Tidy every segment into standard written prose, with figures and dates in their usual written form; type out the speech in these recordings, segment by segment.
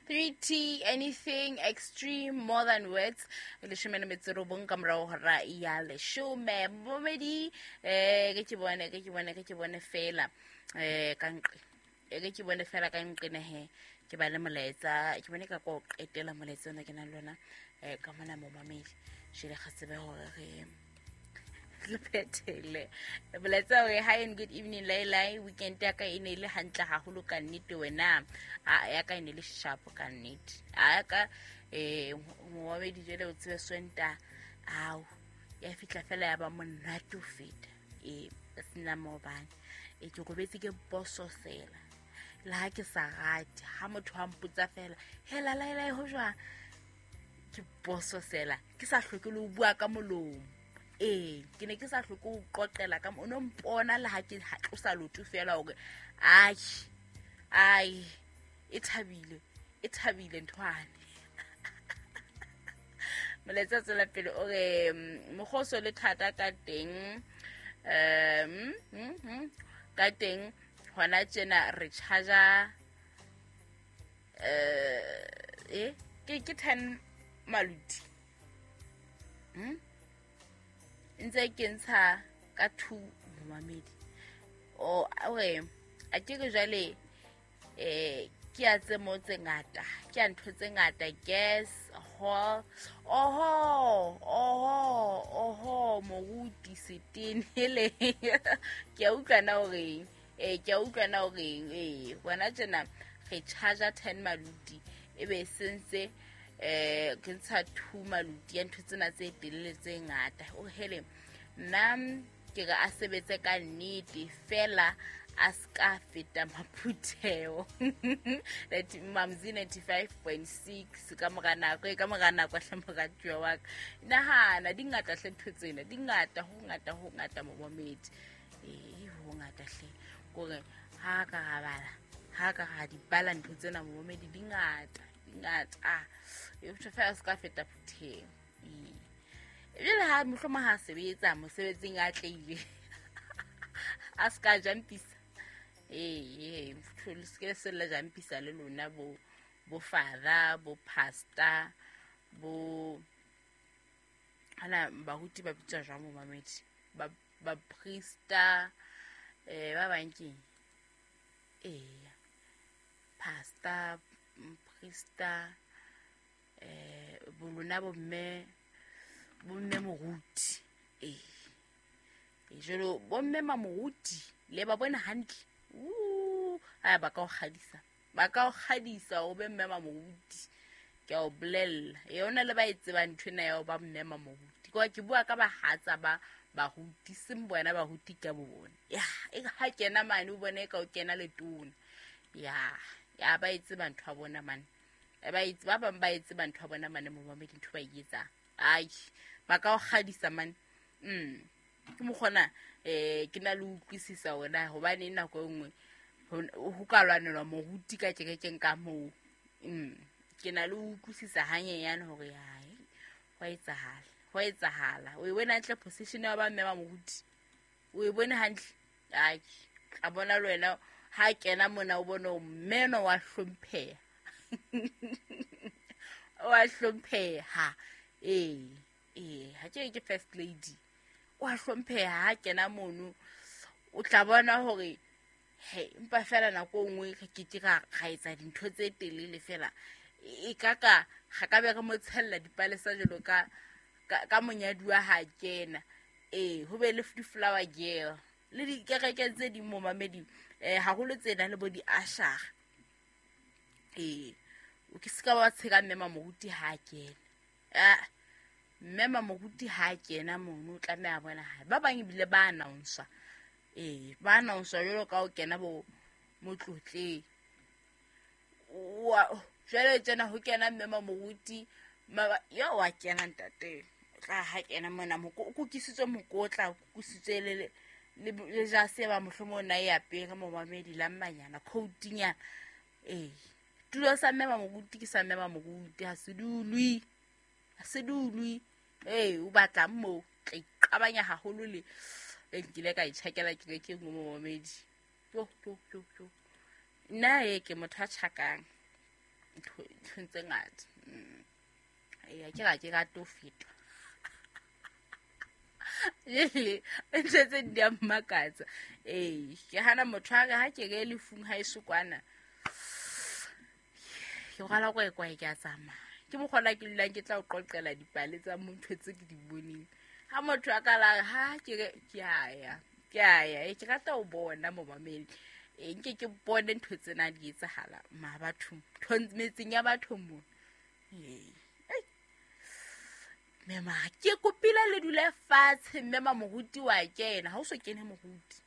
3T anything extreme more than words. 18 ka morago hora ya leshome. Momedi ke ke bone ke ke bone ke ke bone fela ka nqe. Ke ke bone fela ka nqe ne he ke ba le molaetsa ke bone ka ko qetela molaetsa ona ke nang le ona ka mona momamedi. Jele ga tsebe hore re re phethele molaetsa hore hi and good evening Lailai, weekend ya ka e ne e le hantle haholo ka nnete wena. A ya ka e ne le sharp ka nnete. A ya ka momamedi jwale o tsebe Sontaha ao ya fihla fela ya ba monate ho feta. Sena maobane ke robetse ke bososela le ha ke sa rate ha motho a mpotsa fela hela Lailai ho jwang, ke bososela ke sa hloke le ho bua ka molomo. Ke ne ke sa hloke ho qoqela ka o no mpona le ha ke tlosa loto fela hore ai ai e thabile e thabile nthwane. Molaetsa tswela pele o re mokgoso le thata ka teng ka teng hona tjena re charge ke 10 maluti. Ntse ke ntsha ka 2 momamedi. O re a ke re jwale ke a tse mo tse ngata, ke a ntho tse ngata, gas hall oho oho oho moruti setene hele. Ke a utlwa na hore ke a utlwa na hore bona tjena re charge 10 maluti e be sentse ke ntsha 2 maluti ya ntho tsena tse telele tse ngata. O hele nna ke re a sebetse ka nnete fela a ska feta maphutheo. Mamzi 95.6 ka mora nako e ka mora nako hle moratuwa wa ka. Nahana di ngata hle ntho tsena, di ngata ho ngata ho ngata momamedi. Ho ngata hle kore ha ka ra bala, ha ka ra di bala ntho tsena momamedi di ngata, di ngata. E motho fela a ska feta phutheo. Ebile ha mohlomong ha sebetsa mosebetsing a tleile a ska jampisa. Motho le se ke la jampisa le lona bo bo father, bo pastor, bo ana baruti ba bitswa jwang momamedi, ba priesta, ba bang keng? Pastor, priesta, bo lona bo mme, bo mme moruti. Jwalo bo mme mamoruti le ba bona hantle. Aya ba ka o kgadisa. Ba ka o kgadisa o be mme mamoruti. Ke a o bolella. Yona le ba e tsebang ntho ena ya ho ba mme mamoruti. Ke ke bua ka bahatsa ba baruti, seng bona baruti ka bo bona. Ya, e ha kena mane o bone ka o kena letona. Ya, ya ba e tseba ntho ya bona mane. Ba e ba bang ba e tseba ntho ya bona mane momamedi ntho ba e etsang. Ai, ba ka o kgadisa mane. Ke mokgona ke na le utlwisisa hore hobane nako e nngwe ho ka lwanelwa moruti ka kerekeng ka moo. Ke na le utlwisisa hanyenyane hore hai ho etsahala, ho etsahala. O e bone hantle position ya ba mme ba moruti. O e bone hantle. Ai, tla bona le wena ha kena mona o bone o mmeno wa hlompheha. Wa hlompheha. Ha ke ke first lady. Wa hlompheha ha kena mono. O tla bona hore he empa fela nako e nngwe re ke ke ra etsa dintho tse telele fela. E ka ka ga ka be re mo tshella dipalesa jwalo ka ka monyaduwa ha kena. Ho be le di-flower girl le dikereke tse ding momamedi, haholo tse nang le bo di-usher. O ke se ka wa tsheka mme mamoruti ha kena. Mme mamoruti ha kena mono o tlameha bona hae. Ba bang ebile ba announce. Ba announce jwalo ka o kena bo motlotleng. Jwale tjena ho kena mme mamoruti, yo wa kena ntate. O tla ha kena mona o kukisitswe mokotla, o kukisitswe le le jase ba mohlomong na e apere momamedi la mmanyana, coatinyana. Tulo sa mme mamoruti ke sa mme mamoruti, ha se dulwe. Ha se dulwe. O batlang moo, tla iqabanya haholo le nkile ka itjhakela kerekeng mo momamedi. Yo, yo, yo, yo. Nna ke motho a tjhakang. Nthong tse ngata. Ee, ke ga ke rate ho fetwa. Jele ntho tse di a mmakatsa. Ee, ke hana motho a re ha ke re lefung ha eso kwana. Ke rwala kwekwae ke a tsamaya. Ke mokgwa ke dulang ke tla o qoqela dipale tsa motho tse ke di boneng. Ha motho a ka la ha ke re ke a ya. Ke a ya, ke rata ho bona momamedi. Nke ke bone ntho tsena di etsahala ma bathong, metseng ya batho mo. Ee. Mema ke kopile le dule fatshe mme ma moruti wa kena, ha o so kene moruti.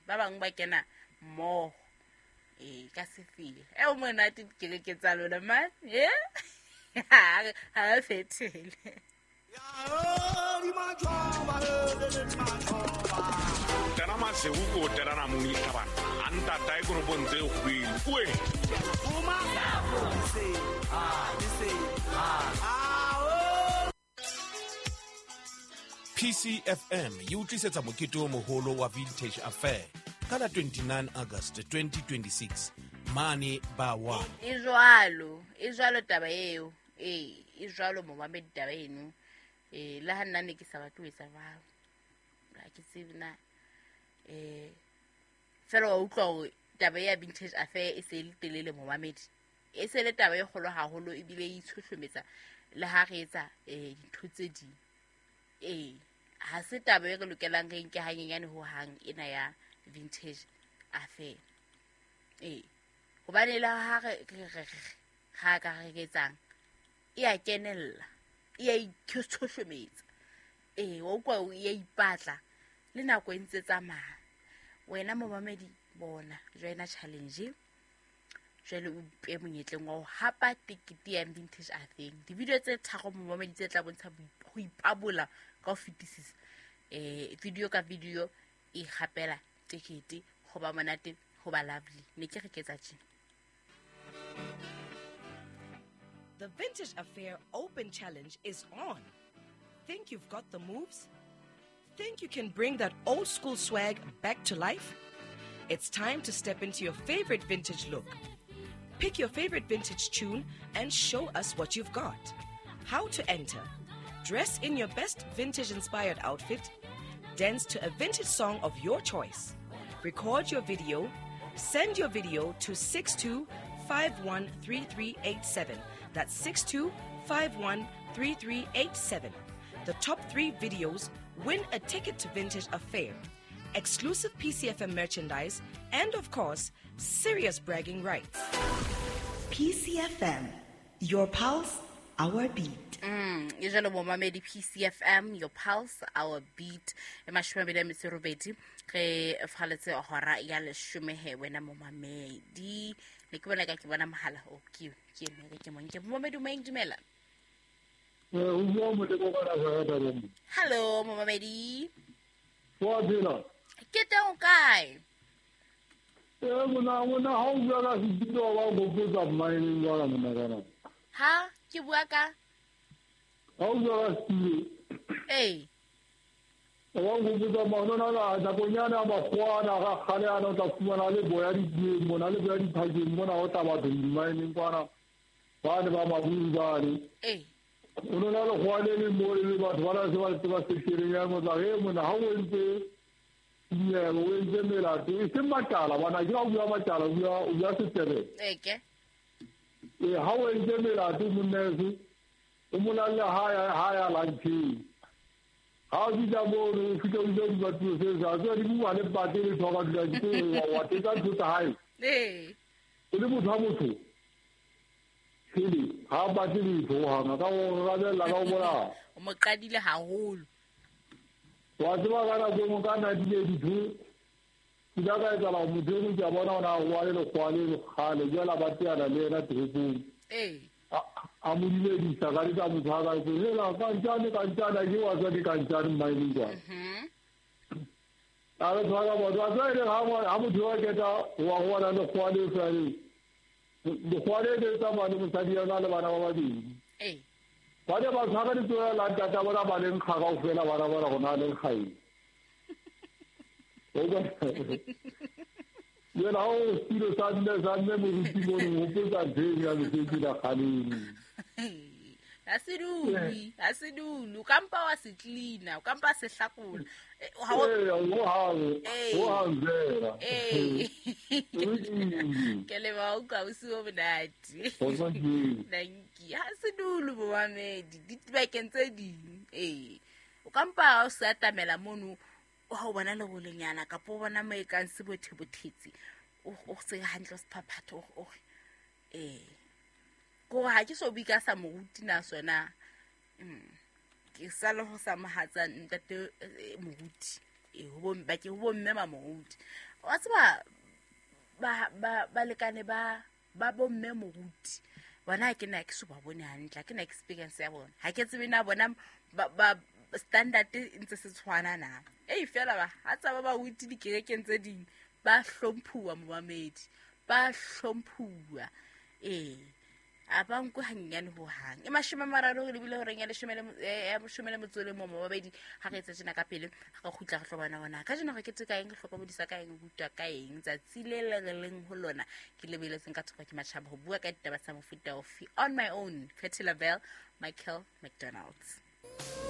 Ba bang ba kena mmoho. Ee, ka sefele. E o monate dikereke tsa lona man. Eh? Ha re fetele. Tena masewu ko tena muni tabana. Anta tai ko bontse kgwele. Uwe. PCFM e utlisetsa mokete o moholo wa Vintage Affair ka la 29 August 2026 mane ba 1. E jwalo taba eo. Ee, e jwalo momamedi taba eno. Ee, le ha nna ne ke sa batle ho etsa jwalo. Ha ke tsebe na. Fela wa utlwa hore taba ya Vintage Affair e se e le telele momamedi. E se le taba e kgolo haholo ebile e itshohlometsa le ha re etsa dintho tse ding. Ee, ha se taba e re lokelang re nke hanyenyane ho hang ena ya Vintage Affair. Ee, hobane le ha re ha ka re etsang e a kenella, e a itshohlometsa. Ee, wa utlwa e a ipatla le nako e ntse tsamaya. Wena momamedi bona joina challenge. Jwale o ipe monyetleng wa ho hapa tekete ya Vintage Affair. Di-video tse tharo momamedi tse tla bontsha ho ipabola ka ho fetisisa. Video ka video e gapela tekete ho ba monate, ho ba lovely. Ne ke re ke tsa tjena. The Vintage Affair Open Challenge is on. Think you've got the moves? Think you can bring that old school swag back to life? It's time to step into your favorite vintage look. Pick your favorite vintage tune and show us what you've got. How to enter? Dress in your best vintage-inspired outfit. Dance to a vintage song of your choice. Record your video. Send your video to 62513387. That's 62513387. The top 3 videos win a ticket to Vintage Affair, exclusive PCFM merchandise, and of course, serious bragging rights. PCFM, your pulse, our beat. E jalo momamedi PCFM, your pulse, our beat. E 28 re faletse hora ya 10 he wena momamedi. Ne ke bona ka ke bona mohala o ke ne ke monke momamedi o meng dumela. Hello momamedi. Wa dira. Ke teng kae? Mona ha o bua ka setilo wa gopotsa mmaeneng jwala mona kana. Ha ke bua ka? Ha o bua ka setilo. Ee. Wa gopotsa mona la nakonyana makgoana ga kgale ana o tla fumana le boya didieng mona le boya diphakeng mona o tla batho dimaeneng kwana. Ba ne ba maburu bane. Ee. O nona le kgwane le mo le batho ba la se ba tseba sekereng ya motla he mona ha o entse yeah, o entse melato e seng matala bana ke o bua matala o bua setsebe. Eke. E ha o entse melato monneso o molalle ha ya luncheng. Ha o fihla mono o fihla o ile dibatlo se sa tswa di bua le pate le thoka dula ke wa teka ntho tsa hae. Ee. O le motho wa motho. Sele ha batle letho hana ka o rabella ka o bona. O mo qadile haholo. Wa tseba ka nako engwe ka 1982 ke ile ka etsahala hore motho eno ke a bona hore a rwale lekgowa le kgale jwale a ba teana le yena toropong. Ee. A mo dumedisa ka le ka motho a ka hela kantjane kantjane ke wa tswa ke kantjane mmaeneng jwale. A re tshwara motho a tswa ele ha motho wa keta wa rwala lekgowa le fane. Lekgowa le le tsamaya le mosadi ya le bana ba babedi. Ee. Ba ne ba tshwara ditsoela la ntata bona ba le nkga kaofela bana bona gona le nkga eng. Jwale ha o setulo sa mme moruti mono, o hopotsa ntho eno ya mesebetsi la kgaleng. Ha se dule, ha se dule. O ka mpa wa se cleaner, o ka mpa se hlakola. Ho hang fela. Ke leboha o utlwa bosiu bo monate. Dankie. Ha se dule momamedi, dibakeng tse ding. Ee. O ka mpa o se atamela mono, ha o bona lerolenyana kapa o bona mo e kang se bothebothetse, o se hantle o se phaphatha, o re ee. Kore ha ke so bue ka sa moruti na sona. Ke sa le ho sa mohatsa ntate moruti. Ho bo ba ke ho bo mme ma moruti. Wa tseba ba balekane ba bo mme moruti. Bona ha ke na ke so ba bone hantle, ha ke na experience ya bona. Ha ke tsebe na bona ba standard e ntse se tshwana na. Ei fela ba ha tsa ba baruti dikerekeng tse ding ba hlomphuwa momamedi, ba hlomphuwa. Ee. A ba nkwe hanyenyane ho hang. E 30 re lebile horeng ya 13 momamedi. Ha re etsa tjena ka pele, ha re kgutla re tlo bona hona. Ka jeno re keteka eng, re hlokomedisa ka eng, re rutwa ka eng. Tsatsi le le re leng ho lona ke lebeletseng ka thoko ke matjhaba ho bua ka ditaba tsa mofuta ofe. On my own, Patti LaBelle, Michael McDonald.